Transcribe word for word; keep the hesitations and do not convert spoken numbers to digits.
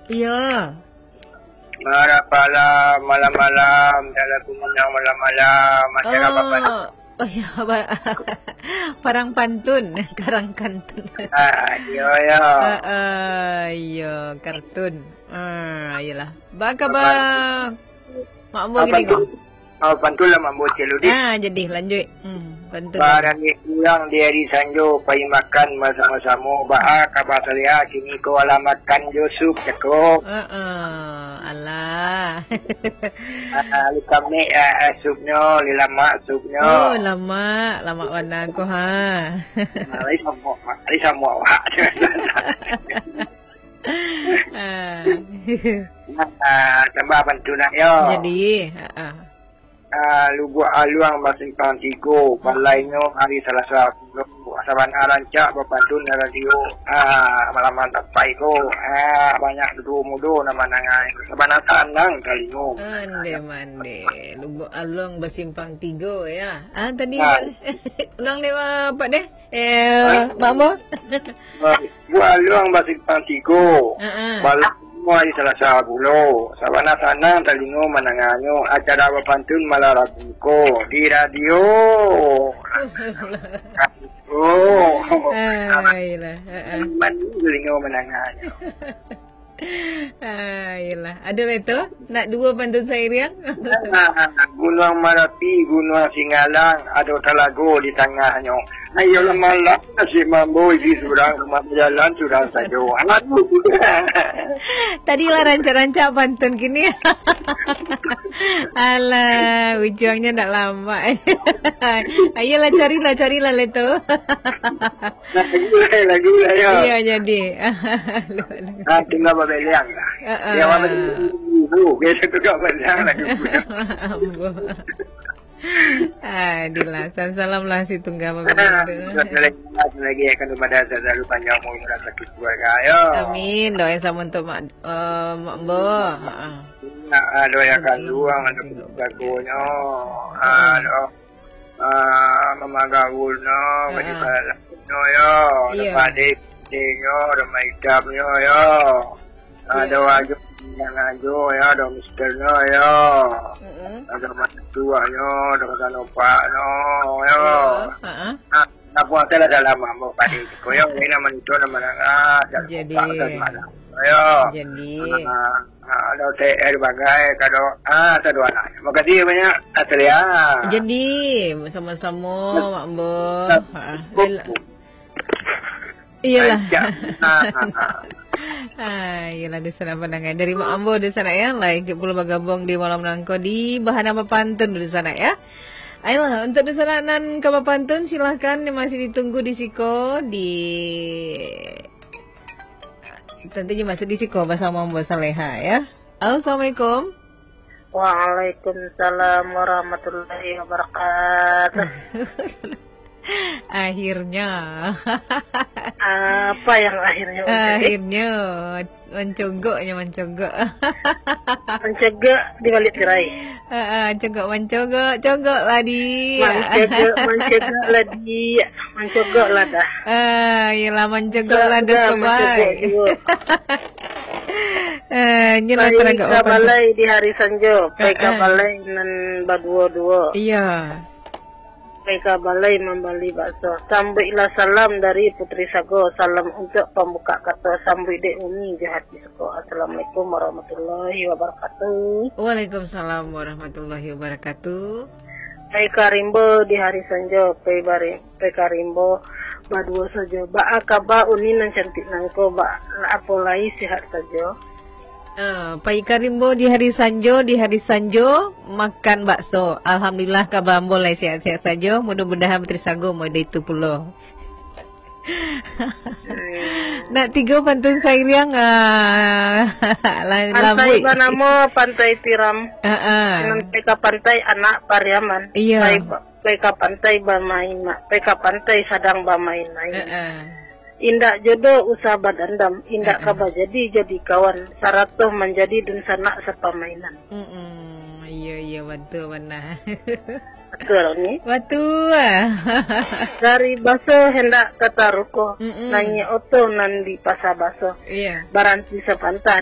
Iyo. Marapala malam-malam, dalam kuminang malam-malam, macam apa, Pak? Oh, oh, ya, ba-, parang pantun, karang kantun. Ah, iyo, iyo. Ah, ah, iyo, kartun. Ah, iyolah. Ba kaba, Mak Ambo, Abang gini tu, kau? Abang tu lah mambuat celudih. Ah, jadi, lanjut. Hmm, pantun. Barangkek pulang di hari sanjo, pai makan basamo-samo. Baa kaba saleha kini ko, alah makan jo sup cako. Heeh, alah. Ah, li kamek, ah, ah, supnyo, li lamak supnyo. Oh, lamak, lamak bana ko, ha. Ah, lai samo, lai samo awak. Ah. Ah, tambah pantun nak yo. Jadi, ha, ah. Ah, Lubuak Aluang basimpang tigo, balainyo hari Salasa pulo. Sabana rancak bapantun radio. Ah, malam-malam sampai ko. Ah, banyak duo mudo nan mandanga. Sabana sanang talingo. Ande mande. Lubuak Aluang basimpang tigo, ya. Ah, tadi, ah, ulang deh, Pak deh. Eh, Mak Ambo? Buah Luang basimpang tigo. Heeh. Malam hari Salasa pulo. Sabana sanang talingo mandanganyo. Acara bapantun malam Rabu ko di radio. Oh. Ah, iyalah. Heeh. Mandi talingo mandanganyo. Ah, iyalah. Ado lai tu? Nak duo pantun sairiang? Ah, Gunuang Marapi, Gunuang Singgalang, ado talago di tangahnyo. Ayolah malam, nasib Mak Ambo isi surang, rumah bajalan surang sajo. Aduh. Tadi lah rancak-rancak pantun, kini. Alah, ujuangnyo ndak lamak. Ayolah, carilah, carilah lai tu. Lagu lah, lagu lah, yo. Iyo, jadi. Ah, tungga babeleang lah. Heeh. Yo, babeleang. Oh, biaso tungga babeleang lagu. Ambo. Ah, dilah. Salam lah si tungga babeleang tu. Lagi akan kepada selalu panjang umur, murah sakit keluarga, yo. Amin. Doa yang sama untuk Mak, eh, Mak Ambo. Heeh. Nak, ah, doa yang kandung, anak jagonyo. Ah, doa. Ah, Mama Gaul no, ah, Badi Palalak no, yo. Iyo. Ada Padi Putih nyo, ada Maidam nyo, yo. Iyo. Ada Wajo, yang Ajo, yo, ada Mister nyo, yo. Mm-mm. Ada Mak Tuak nyo, ada Kota Nopak no, yo. Iyo, ha-ha. Ah, nak buat salah dalam ambo Padi ko, yo. Ini nama itu, nama nangah, dan jadi. Yo. Jadi. Ah, ah. Ah, ada O T R bagai, kado, ah, satu anak. Makasih banyak, Atria. Jadi, sama-sama, Mak Ambo. Ha, lel-, iyalah. Rancak. Ah, ah, ah. Ah, iyalah, di sana pandangan. Dari Mak Ambo di sana, ya. Lah, ikut pulo bagabung di malam nangko di Bahana Bapantun di sana, ya. Ayolah, untuk di sana nan ka bapantun, silahkan, masih ditunggu di siko, di Tantu je masuk di siko basamo Ambo Saleha, ya. Halo, assalamualaikum. Waalaikumsalam warahmatullahi wabarakatuh. Akhirnya. Apa yang akhirnya, Ustaz? Akhirnya, mancogoknya, mancogok. Mancogok di balik tirai. Ah, ah, cogok mancogok, cogok lah, Dik. Mancogok, mancogok lah, Dik. Mancogok lah dah. Ah, iyalah, mancogok lah dah, mancogok sebaik. Ah, nyo lah taragak ka balai di hari sanjo, pai ka balai nan baduo-duo. Iya. Pai ka balai mambali bakso. Sambuiklah salam dari Putri Sago. Salam untuak pambuka kato. Sambuik dek Umi jo hati suko. Assalamualaikum warahmatullahi wabarakatuh. Waalaikumsalam warahmatullahi wabarakatuh. Pai ka rimbo di hari sanjo, pai bari-, pai ka rimbo baduo sajo. Baa kaba Uni nan cantik nangko, ba-, apo lai sihat sajo? Ah, pai ka rimbo di hari sanjo, di hari sanjo makan bakso. Alhamdulillah, kaba ambo lai sihat-sihat sajo. Mudah-mudahan Putri Sago model itu pulo. Hmm. Nak tigo pantun sairiang, ah, la-, Pantai lambuik. Banamo Pantai Tiram. Ah, ah. Nan pai ka pantai anak Pariaman. Iya. Pai ba-, pai ka pantai bamain, mak. Pai ka pantai sadang bamain-main. Ah, ah. Indak jodoh usah badandam, indak ka bajadi jadi kawan, sarato manjadi dunsanak sapamainan. Mm-mm. Iya, iya, batua bana. Batua ni. Batua. Dari baso hendak ka taruko, mm-mm, naiak oto nan di Pasa Baso. Iya. Baranti sapantah